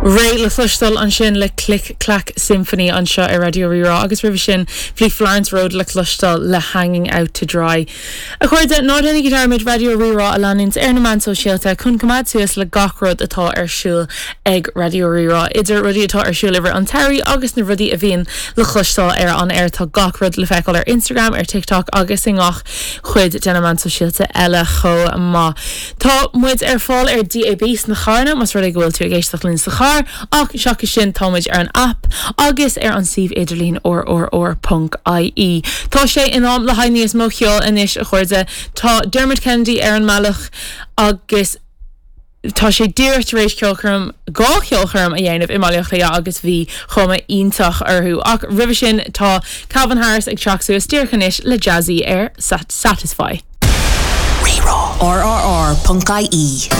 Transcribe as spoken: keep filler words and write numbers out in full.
Raye le cloisteáil ansin le Click Clack Symphony anseo ar Raidió Rí-Rá agus roimhe sin bhí Florence Road le cloisteáil le Hanging Out to Dry. A chairde ná déanaigí dearmad Raidió Rí-Rá a leanúint ar na meáin sóisialta chun coimeád suas le gach rud atá ar siúl ag Raidió Rí-Rá. Idir rudaí atá ar siúl i rith an tsamhraidh agus na rudaí a bhíonn le cloisteáil ar an aer tá gach rud le feiceáil ar Instagram ar TikTok agus i ngach cuid de na meáin sóisialta eile chomh maith. Tá muid ar fáil ar DAB sna carranna más rud é go bhfuil tú ag éisteacht linn sa charr ach seachas sin táimid ar an app agus ar an suíomh idirlín rrr.ie. Tá sé in am le haghaidh níos mó ceoil anois a chairde Tá Dermot Kennedy ar an mbealach agus Tá sé díreach tar éis ceolchoirm dhá cheolchoirm a dhéanamh i mBaile Átha Cliath agus bhí cuma iontach orthu ach roimhe sin tá Calvin Harris ag teacht suas díreach anois le Jazzy ar Sat Satisfy. RRR.ie